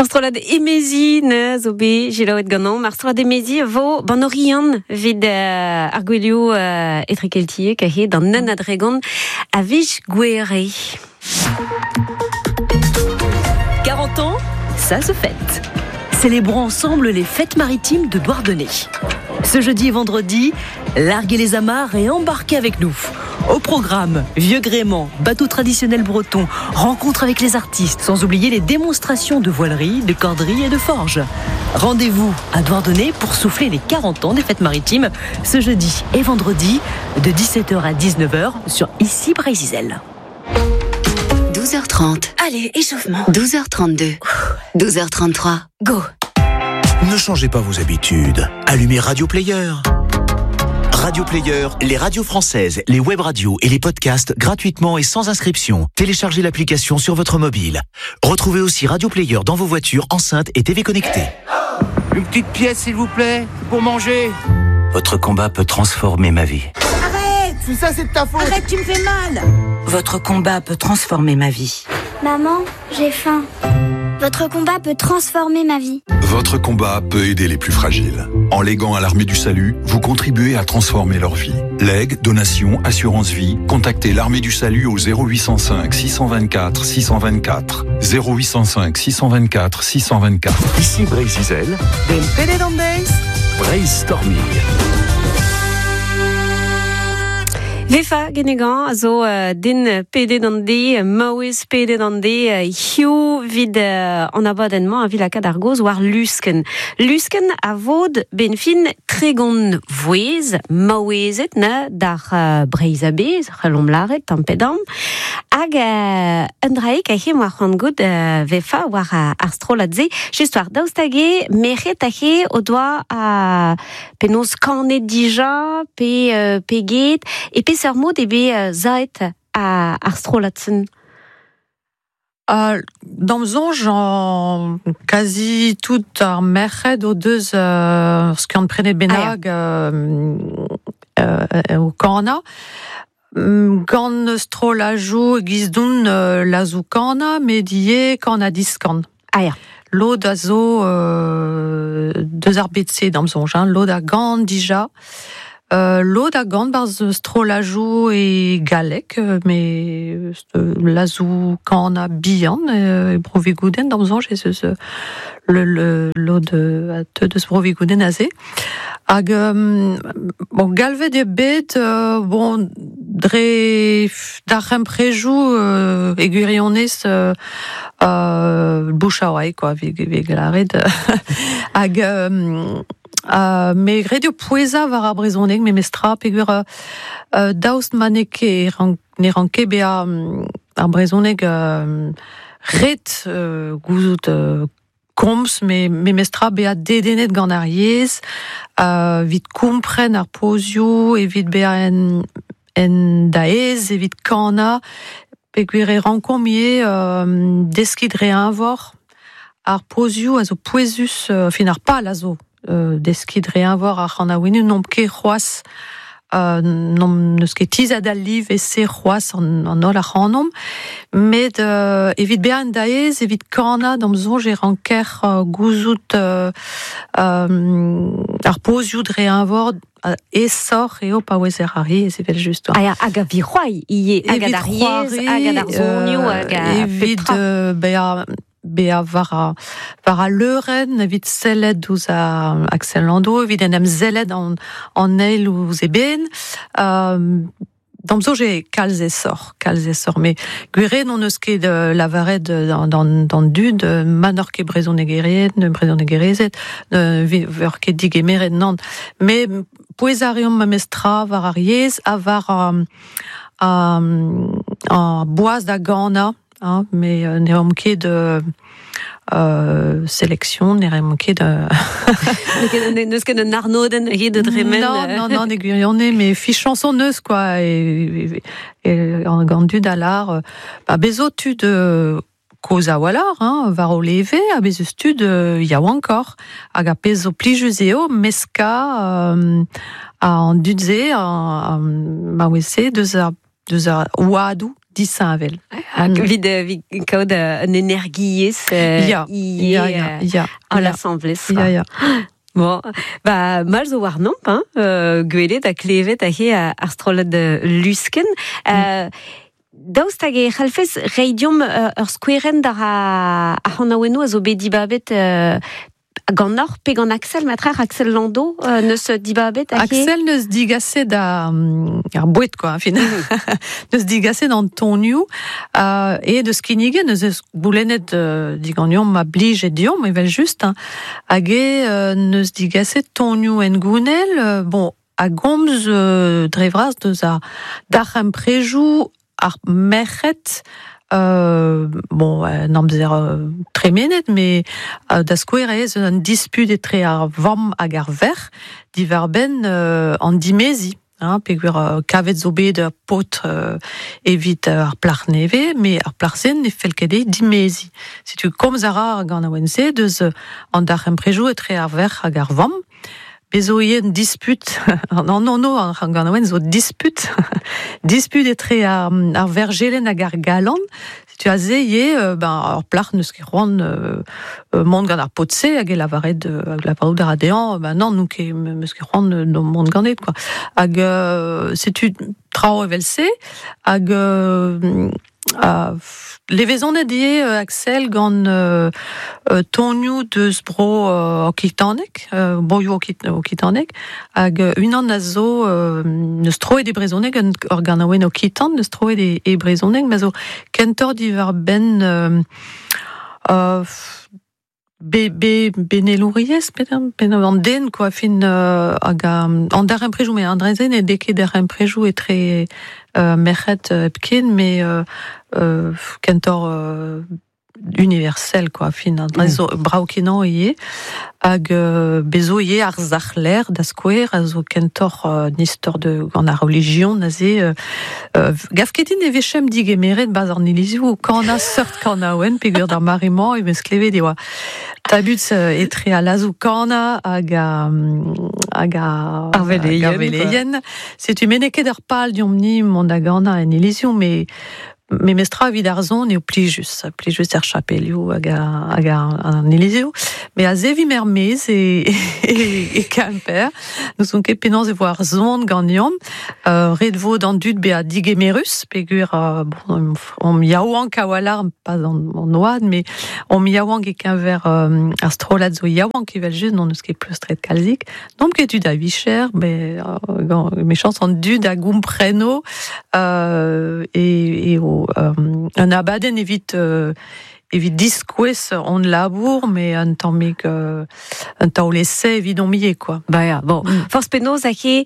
Ar strollad Emezi ne zo bet selaouet ganeomp. Ar strollad Emezi a vo ban Oriant evit ar gwelioù etrekeltiek aze d'an un ha dregont a viz Gouere. 40 ans, ça se fête. Célébrons ensemble les fêtes maritimes de Douarnenez. Ce jeudi et vendredi, larguez les amarres et embarquez avec nous. Au programme, vieux gréement, bateau traditionnel breton, rencontre avec les artistes, sans oublier les démonstrations de voilerie, de corderie et de forge. Rendez-vous à Douarnenez pour souffler les 40 ans des fêtes maritimes, ce jeudi et vendredi, de 17h à 19h sur Ici Breizh Izel. 12h30. Allez, échauffement. 12h32. 12h33. Go. Ne changez pas vos habitudes. Allumez Radio Player. Radio Player, les radios françaises, les web radios et les podcasts gratuitement et sans inscription. Téléchargez l'application sur votre mobile. Retrouvez aussi Radio Player dans vos voitures, enceintes et TV connectées. Une petite pièce, s'il vous plaît, pour manger. Votre combat peut transformer ma vie. Arrête ! Tout ça, c'est de ta faute. Arrête, tu me fais mal. Votre combat peut transformer ma vie. Maman, j'ai faim. Votre combat peut transformer ma vie. Votre combat peut aider les plus fragiles. En léguant à l'Armée du Salut, vous contribuez à transformer leur vie. Legs, donations, assurance vie, contactez l'Armée du Salut au 0805 624 624. 0805 624 624. Ici Breizh Izel. Brainstorming. Vefa Guénégan a zo den pedet an de, maouez pedet an de, hiziv 'vit an abadenn-mañ a vi lakaat ar gaoz war Luskenn. Luskenn a vod 'benn fin 30 vouezh maouezed na d'ar Breizh a-bezh, c'hellomp lâret tamm pe damm. Hag un draig aze 'moa c'hoant goût Vefa war ar strollad-se. Just war daoust hag eo merc'hed aze o doa penaos kanet dija pe pe get e peseurt mod eo bet saet ar strollad-se? D'am soñj, kazi tout ar merc'hed o deus ur skiant-prenet bennak o kanañ. Gant strollajoù e-giz-don lazoù-kanañ, met ivez kan-ha-diskan. Ah ya. Lod a zo deus ar bed-se d'am soñj, hein. Lod a gan dija. Lod a gan 'barzh strollajoù e galleg, met lazoù-kanañ bihan e Bro-Vigoudenn d'am soñj ez eus lod a teu deus Bro-Vigoudenn aze. Hag bon, galvet eo bet bon, dre daremprejoù e gwirionez bouche à oreille quoi, 'vit lâret. Hag me ret eo pouezañ war ar brezhoneg memestra peogwir daoust ma n'eo ket ne rank ket bezañ ar brezhoneg ret gouzout komz memestra bezañ dedennet gant ar yezh, evit kompren ar pozioù, evit bezañ en daez, evit kanañ, peogwir e rankomp ivez deskiñ dre eñvor ar pozioù a zo pouezus, fin ar pal a zo deskiñ dre eñvor ar c'hanaouennoù n'omp ket c'hoazh n'eus ket tizhet al live-se c'hoazh an holl ac'hanomp, met evit bezañ en daez, evit kanañ, d'am soñj e ranker gouzout ar pozioù dre eñvor aesoc'h eo pa ouezer ar yezh evel-just. Ah ya, hag a vi c'hoari ivez, hag ar yezh, hag ar sonioù, hag a evit bezañ war al leurenn, evit sellet ouzh Axel Landau, evit en em sellet an eil ouzh eben. D'am soñj eo kalz aesoc'h, kalz aesoc'h. Met gwir eo n'hon eus ket lavaret d'an dud ma n'oc'h ket brezhonegerien, brezhonegerezed, ne veur ket digemeret nann. Met pouezañ a reomp memestra war ar yezh ha war ar boaz da ganañ. Hein, mais ne reomp ket sélection, ne reomp ket N'eus ket un arnodenn ket de dremen. Non, non, non, ne gwirionez, mais fichañs neus quoi, et gant dud a lar, ba bezo tud kozh a-walc'h, hein, war o leve, ha bez eus tud yaouankoc'h, hag a pezh zo plijus eo meskañ an dud-se, maouez-se, deus ar oadoù disheñvel. Hag evit kaout un energiezh Ya, ivez ya, ya, ya. en asamblez. Ya, ya. Bon, ba, mal zo warnomp, hein, gwelet ha klevet aze ar strollad Lusken. Daoust hag e c'hallfez reiñ deomp ur skouerenn d'ar ar c'hanaouennoù a zo bet dibabet ganeoc'h pe gant Axel matrec'h, Axel Lando neus dibabet aze? Axel neus digaset ar boued, quoi, fin. Neus digaset an tonioù e deus kinniget neus eus goulennet diganeomp ma blij e deomp, evel just, hein. Hag e neus digaset tonioù en gounel, bon, a gomz dre vras deus ar daremprejoù ar merc'hed, bon, n'amzer tremenet, mais da skouer ez un disput etre ar vamm hag ar verc'h diwar-benn an dimezi. Hein, peogwir kavet zo bet ur paotr evit ar plac'h nevez, mais ar plac'h-se ne fell ket dezhi dimezi. Setu komz a ra ar ganaouenn-se deus an daremprejoù etre ar verc'h hag ar vamm. Bez zo ivez un disput, non, non, non, ar ganaouenn zo disput, disput etre ar verjelenn hag ar galan. Setu aze ivez, ben, ar plac'h n'eus ket c'hoant mont gant ar paotr-se hag e lavaret, hag lavarout a ra dezhañ, ben non, n'on ket, m'eus ket c'hoant mont ganet, quoi. Hag setu traoù evel-se, hag levezonet ivez Axel gant tonioù deus bro okitanek, broioù okitanek, hag unan a zo neus troet e brezhoneg, ur ganaouenn okitan neus troet e brezhoneg, ma zo kentoc'h diwar-benn benelouriezh, pe an den, quoi, fin hag an daremprejoù, mais an dra-se ne deo ket daremprejoù etre merc'hed hepken, mais kentoc'h universel, quoi, fin an dra zo brav-kenañ ivez, hag bez zo ivez ar sac'hler da skouer, a zo kentoc'h un istor de gant ar relijion aze, gav ket din e vechem digemeret bas an ilizioù, kana seurt kanaouenn, peogwir d'ar mare-mañ e vez klevet e oa tabut etre al lazoù kana hag hag ar veleien. Setu me n'eo ket ur pal deomp-ni mont da ganañ en ilizioù, mais memestra evit ar son eo plijus, plijus er chapelioù hag an ilizioù. Mais aze vimp er-maez e Kemper. N'ouzon ket penaos e vo ar son ganeomp. Ret vo d'an dud bezañ digemerus, peogwir bon, omp yaouank a-walc'h, pas an oad, mais omp yaouank e-keñver ar strollad zo yaouank evel-just, n'hon eus ket pleustret kalzik. N'omp ket tud a vicher, mais mechañs an dud a gompreno e o un abadenn evit diskouez hon labour, mais un tammig un taol-essai evidomp ivez, quoi. Ba ya, bon. Forzh penaos aze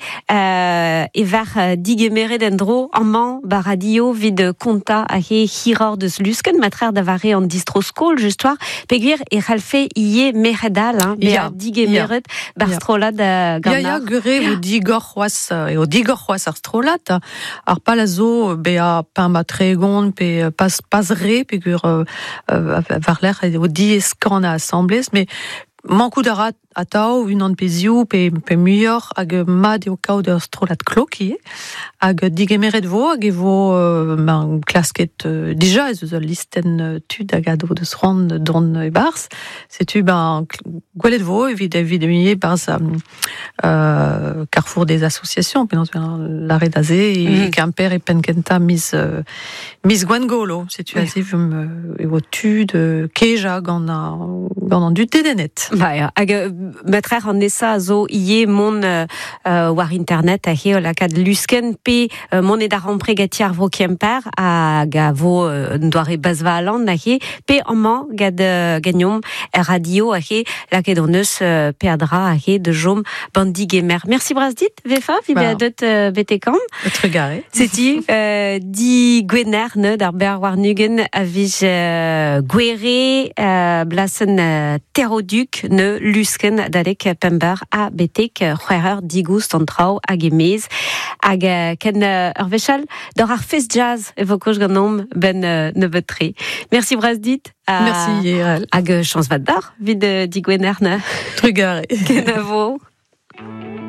e var digemeret en-dro amañ ba radio evit kontañ aze hiroc'h deus Lusken, matrec'h da vare an distro-skol just war, peogwir e c'hallfe ivez merc'hed all, hein, bezañ digemeret bar strollad ganeoc'h. Ya, ya, gwir eo digor c'hoazh, eo digor c'hoazh ar strollad. Ar pal a zo bezañ pemp ha tregont pe pas re, peogwir war-lerc'h eo diaes kanañ asambles, mais mankout a ra atav unan pe ziv pe muioc'h, hag mat eo kaout ur strollad klok ivez, hag digemeret vo, hag e vo ben, klasket dija ez eus ul listenn tud hag a do deus c'hoant dont e-barzh. Setu ben, gwelet vo evit ivez barzh Carrefour des associations, penaos lâret aze, e Kemper e penn-kentañ miz Gwengolo. Setu aze e vo tud kejañ gant an dud dedennet. Ba ya, hag matrec'h an nesañ a zo ivez mont war internet aze o lakaat Lusken pe mont e darempred ganti ar vro Kemper hag a vo un doare bazvalan aze pe amañ gant ganeomp er radio aze lakaet hon eus peadra aze da chom b'an digemer. Merci bras dit, Vefa, vi bezañ deut betek-an. Trugarez. Setu di Gwener ne d'ar ber warn-ugent a vij gwere blasenn Terroduc ne Lusken adalek pemp eur ha betek c'hwec'h eur digoust an traoù hag e-maez. Hag ken ur wech all d'ar ar fest jazz e vo koch ganeomp ben nebeut-tre. Merci bras dit. Merci Yerel. Hag chañs vat d'ar evit digwener ne. Trugarez. Kenavo.